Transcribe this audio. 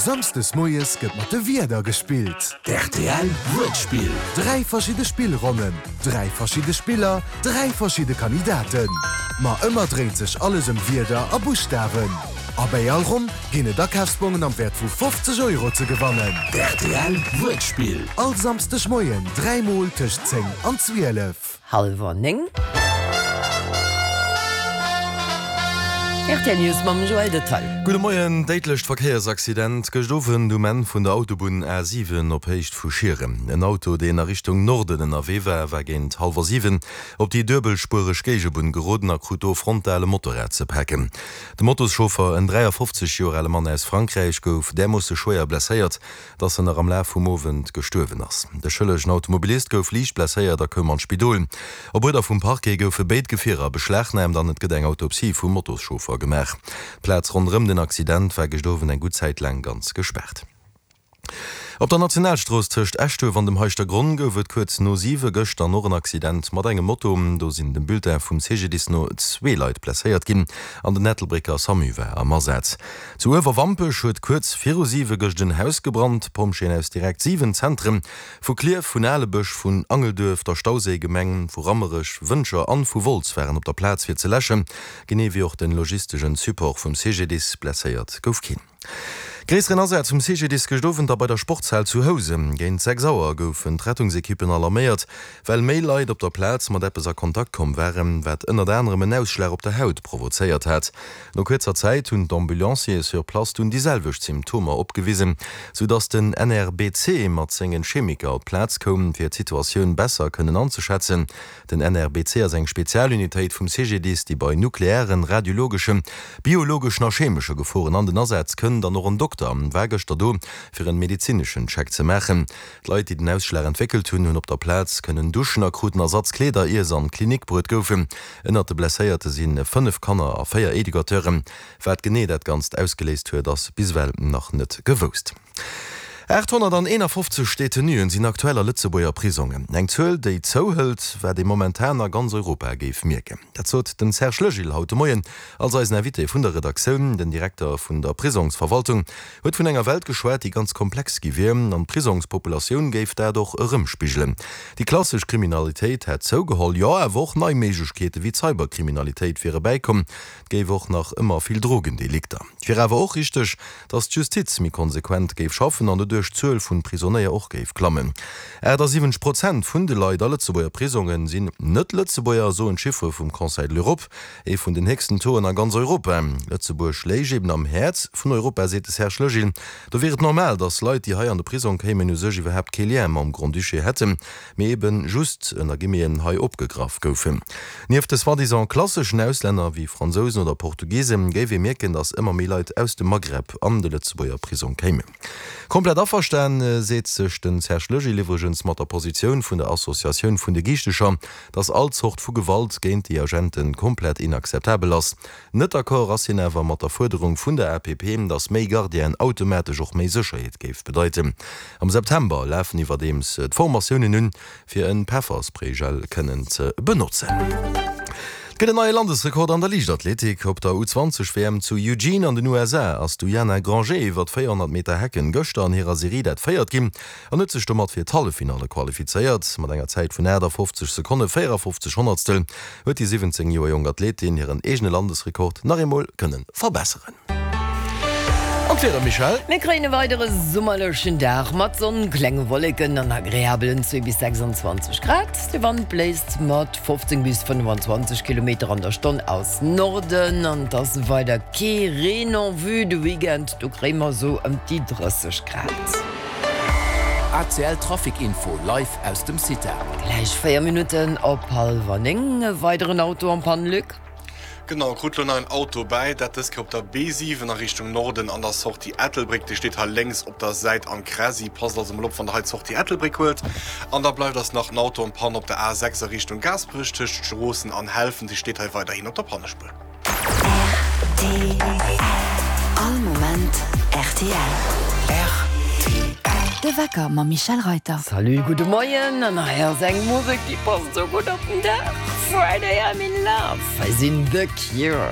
Samsdes moies gëtt mat de Wierder gespillt. D'RTL Wuertspill. 3 verschidde Spillronnen, 3 verschidde Spiller, 3 verschidde Kandidaten. Ma ëmmer dréint sech alles ëm Wierder a Buschtawen. A bäi all Ronn ginn et Akafsbongen am Wäert vu 50 Euro ze gewannen. D'RTL Wuertspill. All Samsdeg Moien 3 mol tëscht 10 an 12. Hallwer 9. Rtl News mam Joël Detaille. Gudde Moien. Déidlecht Verkéiersaccident gëscht Owend um Enn vun der Autobunn A7 op Héicht vu Schieren. En Auto, deen a Richtung Norden ënnerwee war, war géint hallwer 7 op déi duebelspuereg Géigebunn geroden a krut do frontal e Motorrad ze paken. De Motoschauffer, en 53 Joer ale Mann aus Frankräich, gouf därmoosse schwéier blesséiert, dass en nach am Laf vum Owend gestuerwen ass. De schëllegen Automobilist gouf liicht blesséiert a koum an d'Spidol. Op Uerder vum Parquet goufe béid Gefierer beschlagnaamt an et gëtt eng Autopsie vum Motoschauffer gemaach. D'Plaz ronderëm den Accident war gëscht Owend eng gutt Zäit laang ganz gespaart. Op der Nationalstrooss tëscht Eschduerf an dem Heischtergronn gouf et kuerz no siwe gëscht dann och en Accident mat engem Moto. Do sinn dem Bulletin vum CGDIS no zwee Leit blesséiert ginn an den Ettelbrécker Samu war am Asaz. Zu Uewerwampech huet kuerz viru siwe gëscht en Haus gebrannt. D'Pompjeeën aus direkt 7 Zentren, vu Klierf, vun Alebësch, vun Angelduerf, der Stauséigemeng, vu Rammerech, Wëntger an vu Wolz waren op der Plaz fir ze läschen, genee wéi och den logistegen Support vum CGDIS. Blesséiert gouf keen. Gréisseren Asaz vum CGDIS gëscht Owend da bei der Sportshal zu Housen. Géint 6 Auer goufen d'Rettungsekippen alarméiert, well méi Leit op der Plaz mat eppes a Kontakt komm waren, wat ënnert anerem en Ausschlag op der Haut provozéiert hat. No kuerzer Zäit hunn d'Ambulanciere sur place dunn déi selwecht Symptomer opgewisen, sou dass den NRBC mat sengen Chemiker op d'Plaz koum, fir d'Situatioun besser kënnen anzeschätzen. Den NRBC ass eng Spezialunitéit vum CGDIS, déi bei nuklearen, radiologeschen, biologeschen a chemesche Geforen an den Asaz kënnt. An och en Dokter war gëschter do, fir en medezineschen Check ze maachen. D'Leit, déi den Ausschlag entwéckelt hunn, hunn op der Plaz kënnen duschen a kruten Ersatzkleeder, ier se an d'Klinik bruet goufen. Ënnert de Blesséierte si 5 Kanner a 4 Educateuren. Wat genee dat Ganzt ausgeléist huet, ass bis ewell nach net gewousst. 851 Detenuen sinn aktuell a Lëtzebuerger Prisongen. Eng Zuel, déi zouhëlt, wat ee momentan a ganz Europa géif mierken. Dat sot den Serge Legil haut de Moien als eisen Invité vun der Redaktioun. Den Direkter vun der Prisongsverwaltung huet vun enger Welt geschwat, déi ganz komplex gi wier, an d'Prisongspopulatioun géif dat och erëmspigelen. Déi klassesch Kriminalitéit hätt zougeholl, jo, awer och nei Méiglechkeete wéi d'Cyberkriminalitéit wiere bäikomm. Et géif och nach ëmmer vill Drogendelikter. Et wier awer och richteg, datt d'Justiz méi konsequent géif schaffen an doduerch d'Zuel vun Prisonéier och géif klammen. 78 Prozent vun de Leit a Lëtzebuerger Prisonge sinn Net-Lëtzebuerger, soen d'Chiffere vum Conseil de l'Europe. Ee vun den héchsten Tauxen a ganz Europa. Lëtzebuerg léich eben am Häerz vun Europa, seet de Serge Legil. Do wier et normal, datt Leit, déi hei an de Prisong kéimen, u sech iwwerhaapt kee Lien mam Grand-Duché hätten, mee eben just, ënner Guillemeten, hei opgegraff goufen. Nieft de soi-disant klasseschen Auslänner wéi Fransousen oder Portugisen, géif ee mierken, datt ëmmer méi Leit aus dem Maghreb an de Lëtzebuerger Prisong kéimen. Komplett averstan seet sech de Serge Legil iwwregens mat der Positioun vun der Associatioun vun de Giichtecher, dass all Zort vu Gewalt géint déi Agente komplett inakzeptabel ass. Net d'accord ass hien awer mat der Fuerderung vun der APP, dass méi Gardienen automatesch och méi Sécherheet géif bedeiten. Am September lafen iwwerdeems d'Formatiounen un, fir e Pefferspraygel kënnen ze benotzen. Et gëtt en neie Landesrekord an der Liichtathletik. Op der U20 WM zu Eugene an den USA ass d'Uyana Granger iwwer 400 Meter Hecken gëschter an hirer Serie dat véiert ginn. an huet sech domat fir d'Halleffinalle qualifizéiert. Mat enger Zäit vun 58 Sekonne 54 Honnertstel huet déi 17 Joer jonk Athletin hiren eegene Landesrekord nach eemol kënne verbesseren. An d'Wieder, Michèle? Mir kréien e weidere summerlechen Dag mat Sonn, klenge Wolleken an agreabelen 2 bis 26 Grad. De Wand bléist mat 15 bis 25 Kilometer an der Stonn aus Norden an et ass weider kee Reen en vue. De Weekend, do kréie mer esou ëm déi 30 Grad. ACL Trafic Info live aus dem CITA. Gläich 4 Minutten op hallwer 9, e weideren Auto en panne, Luc. Genau, krut lo nach en Auto bäi, dat dës Kéier op der B7 a Richtung Norden an der Sortie Ettelbréck. Dee steet hei lénks op der Säit am Kräsi. Passt also mol op, wann der hei d'Sortie Ettelbréck huelt. An da bleift eis nach en Auto en panne op der A6 a Richtung Gaasperech tëscht Stroossen an Helfent. Dee steet hei weiderhin op der Pannespuer. Rtl. All Moment rtl. Rtl. De Wecker mam Michèle Reyter. Salut, gudde Moien an hei ass eng Musek déi passt sou gutt op den Dag, Friday I'm in Love, hei sinn The Cure.